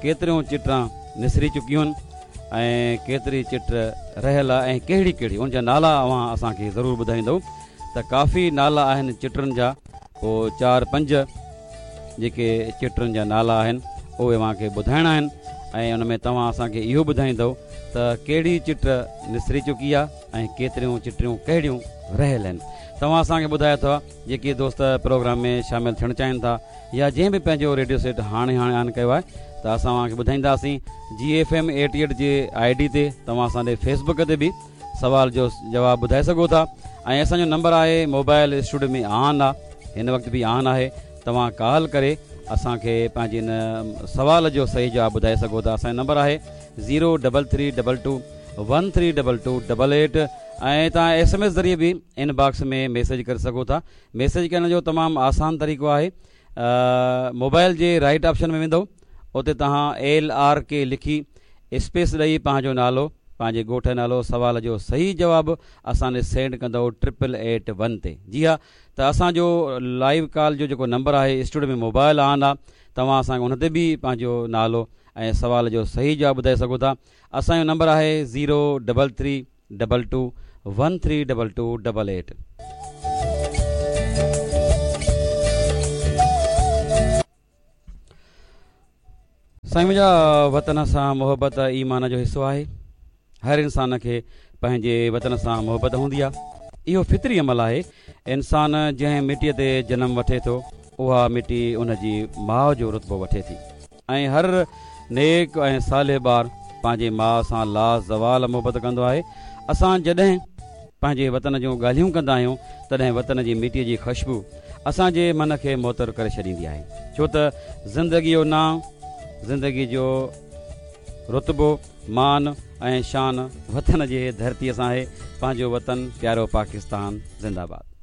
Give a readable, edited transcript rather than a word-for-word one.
ڪيتريون چٽران نسري چڪيون آهن ۽ ڪيتري چٽ رهيل آهي ۽ ڪهڙي ڪهڙي ان جا نالا اوهان اسان کي ضرور ٻڌائيندؤ ته ڪافي نالا آهن چٽرن جا پوء چار پنج جيڪي چٽرن جا نالا آهن اهي اوهان کي ٻڌائڻا آهن ۽ ان ۾ توهان اسان کي اهو ٻڌائيندؤ ته ڪهڙي چٽ نسري چڪي آهي ۽ ڪيتريون چٽريون ڪهڙيون رهيل آهن توهان اسان کي ٻڌايو ٿا جيڪي دوست پروگرام ۾ شامل ٿيڻ چاهين ٿا يا جنهن به پنهنجو ريڊيو سيٽ هاڻي هاڻي آن ڪيو آهي ته اسان اوهان کي ٻڌائينداسين جي ايف ايم ايٽي ايٽ جي I D تي توهان اسان ڏي فيس بڪ تي به سوال جو جواب ٻڌائي سگهو ٿا ۽ اسان جو نمبر آهي موبائل اسٽوڊيو ۾ آن آ هن وقت به آن آهي توهان ڪال ڪري اسان کي پنهنجي ان سوال جو صحيح جواب ٻڌائي سگهو ٿا اسان جو نمبر آهي zero double three double two one three double two double eight ۽ توهان ايس ايم ايس ذريعي به ان باڪس ۾ ميسيج ڪري سگهو ٿا ميسيج ڪرڻ جو تمام آسان طريقو آهي موبائل جي رائٽ آپشن ۾ ويندو اتي توهان ايل آر ڪي لکي اسپيس ڏئي پنهنجو نالو پنهنجي ڳوٺ جو نالو سوال جو صحيح جواب اسان ڏي سينڊ ڪندؤ ٽرپل ايٽ ون تي جي ها ته اسان جو لائيو ڪال جو جيڪو نمبر آهي اسٽوڊيو ۾ موبائل آن آ توهان اسان کي ان تي به پنهنجو نالو ۽ سوال جو صحيح جواب ٻڌائي سگهو ٿا اسان جو نمبر آهي zero double three double two one three double two double eight. سائين منهنجا وطن سان محبت ايمان جو حصو آهي هر انسان کي پنهنجي وطن سان محبت هوندي آهي اهو فطري عمل آهي انسان جنهن مٽي تي جنم وٺي ٿو اها مٽي ان جي ماء جو رتبو وٺي ٿي ۽ هر نيڪ ۽ صالح ٻار پنهنجي ماء سان لازوال محبت ڪندو آهي. اسان جڏهن پنهنجي وطن جون ڳالهيون ڪندا آهيون تڏهن وطن جي مٽيء جي خشبو اسان جي من کي معطر ڪري ڇڏيندي آهي. ڇو ته زندگيء جو نانء، زندگيء جو رتبو، مان ۽ شان وطن جي ڌرتيء سان آهي. پنهنجو وطن پيارو پاڪستان زنده باد.